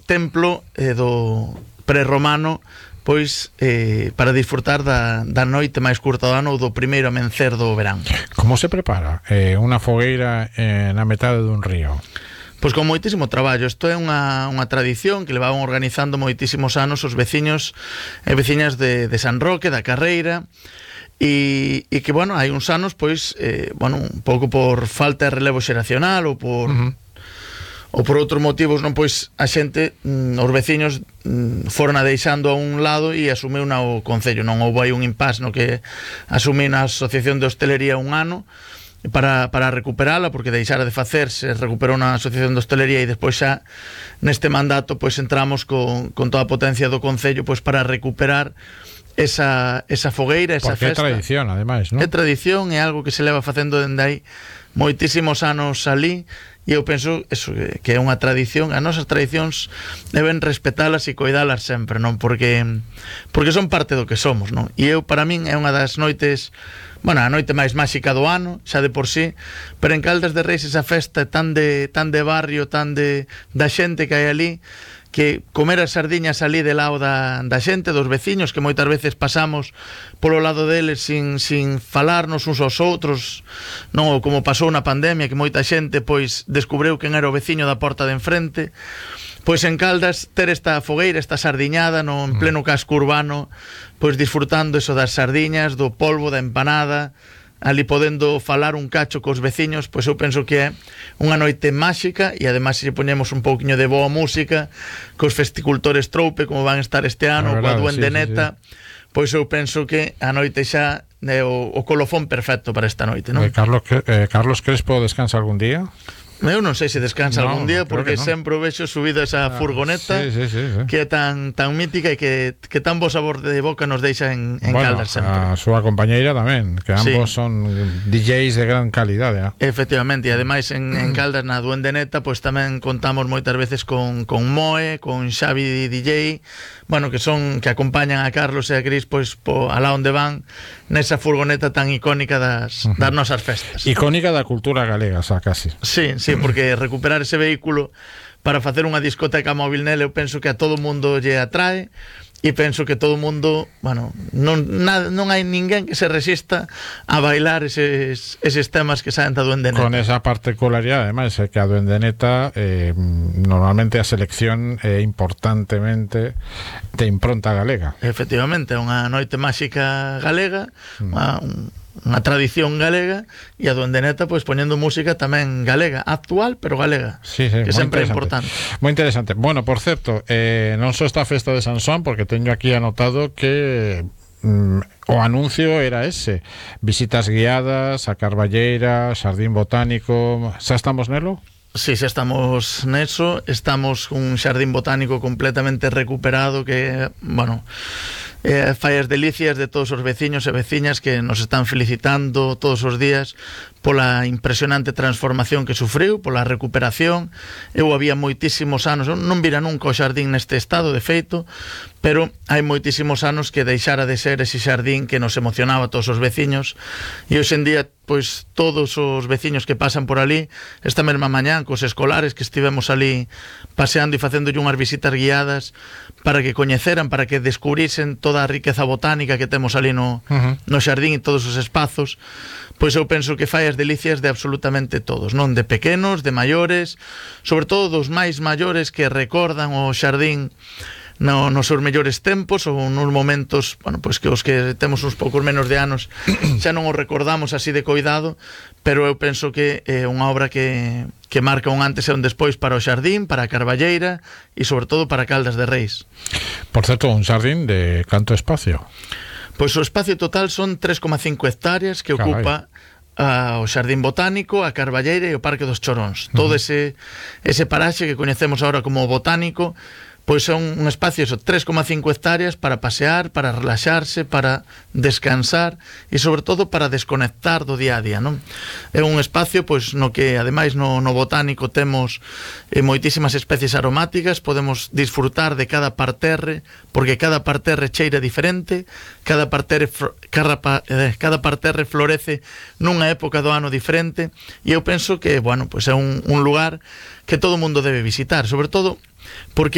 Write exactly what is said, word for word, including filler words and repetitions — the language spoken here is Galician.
templo eh, do prerromano, pois eh, para disfrutar da, da noite máis curta do ano ou do primeiro amencer do verán. Como se prepara eh, unha fogueira eh, na metade dun río? Pois con moitísimo traballo. Isto é unha, unha tradición que levaban organizando moitísimos anos os veciños e veciñas de, de San Roque, da Carreira, e, e que, bueno, hai uns anos, pois, eh, bueno, un pouco por falta de relevo xeracional ou por... Uh-huh. ou por outros motivos, non, pois a xente, mm, os veciños mm, foron a deixando a un lado e asumiu na o Concello. Non houve aí un impasse no que asumí na Asociación de Hostelería un ano para, para recuperala, porque deixara de facerse, recuperou na Asociación de Hostelería e despois xa neste mandato pois entramos con, con toda a potencia do Concello pois para recuperar esa, esa fogueira, esa porque festa. Porque é tradición, ademais, non? É tradición, é algo que se leva facendo dende aí moitísimos anos ali. E eu penso eso, que é unha tradición. As nosas tradicións deben respetalas e coidalas sempre, non? Porque porque son parte do que somos, non? E eu, para min, é unha das noites, bueno, a noite máis máxica do ano, xa de por sí, pero en Caldas de Reis esa festa tan de tan de barrio, tan de da xente que hai ali, que comer as sardiñas ali de lado da, da xente, dos veciños, que moitas veces pasamos polo lado deles sin, sin falarnos uns aos outros, non, ou como pasou na pandemia, que moita xente pois descubriu quen era o veciño da porta de enfrente. Pois en Caldas ter esta fogueira, esta sardiñada no en pleno casco urbano, pois disfrutando eso das sardiñas, do polvo, da empanada, ali podendo falar un cacho cos veciños, pois eu penso que é unha noite máxica. E ademais se poñemos un pouquiño de boa música cos festicultores Troupe, como van estar este ano, coa Duende sí, Neta, sí, sí. Pois eu penso que a noite xa é o, o colofón perfecto para esta noite, non? Eh, Carlos, eh, Carlos Crespo descansa algún día? Eu non sei se descansa no, algún día, porque no. sempre o vexo subido a esa ah, furgoneta sí, sí, sí, sí. que é tan, tan mítica e que, que tan bo sabor de boca nos deixa en, en bueno, Caldas sempre. A súa compañeira tamén, que ambos sí. son D Js de gran calidade, eh? Efectivamente, e ademais en, en Caldas na Duende Neta pois tamén contamos moitas veces con, con Moe, con Xavi D J, bueno, que son que acompañan a Carlos e a Cris pois po, alá onde van nesa furgoneta tan icónica das, uh-huh. das nosas festas. Icónica da cultura galega, xa casi. Sí, sí, porque recuperar ese vehículo para facer unha discoteca móvil nele, eu penso que a todo mundo lle atrae, e penso que todo mundo, bueno, non, na, non hai ninguén que se resista a bailar eses, eses temas que saen da Duende Neta. Con esa particularidade, ademais, é que a Duende Neta eh, normalmente a selección é importantemente de impronta galega. Efectivamente, é unha noite máxica galega, mm. unha, unha tradición galega, e a Duende Neta pois poñendo música tamén galega, actual pero galega, sí, sí, que sempre é importante. Moi interesante. Bueno, por certo, eh, non só esta festa de San Xoán, porque teño aquí anotado que mm, o anuncio era ese: visitas guiadas a Carballeira, Xardín Botánico. Xa estamos nelo? Sí, xa estamos neso. Estamos cun xardín botánico completamente recuperado que, bueno, eh, fai as delicias de todos os veciños e veciñas que nos están felicitando todos os días pola impresionante transformación que sufriu, pola recuperación. Eu había moitísimos anos, non vira nunca o xardín neste estado, de feito, pero hai moitísimos anos que deixara de ser ese xardín que nos emocionaba a todos os veciños, e hoxe en día, pois, todos os veciños que pasan por ali, esta mesma mañán, cos escolares que estivemos ali paseando e facéndolle unhas visitas guiadas para que coñeceran, para que descubrisen toda a riqueza botánica que temos ali no, uh-huh. no xardín e todos os espazos, pois eu penso que fai as delicias de absolutamente todos, non? De pequenos, de maiores, sobre todo dos máis maiores que recordan o xardín no, nos seus mellores tempos, ou nos momentos, bueno, pois que os que temos uns poucos menos de anos xa non os recordamos así de coidado, pero eu penso que é unha obra que, que marca un antes e un despois para o xardín, para a Carballeira e sobre todo para Caldas de Reis. Por certo, un xardín de canto espacio? Pois o espacio total son tres coma cinco hectáreas que Carai. ocupa uh, o Xardín Botánico, a Carballeira e o Parque dos Choróns. Uh-huh. Todo ese, ese paraxe que coñecemos agora como botánico, pois son un espacio, eso, tres coma cinco hectáreas para pasear, para relaxarse, para descansar e sobre todo para desconectar do día a día, non? É un espacio pois no que ademais no, no botánico temos eh, moitísimas especies aromáticas, podemos disfrutar de cada parterre, porque cada parterre cheira diferente, cada parterre cada, eh, cada parterre florece nunha época do ano diferente, e eu penso que, bueno, pois é un, un lugar que todo mundo debe visitar, sobre todo porque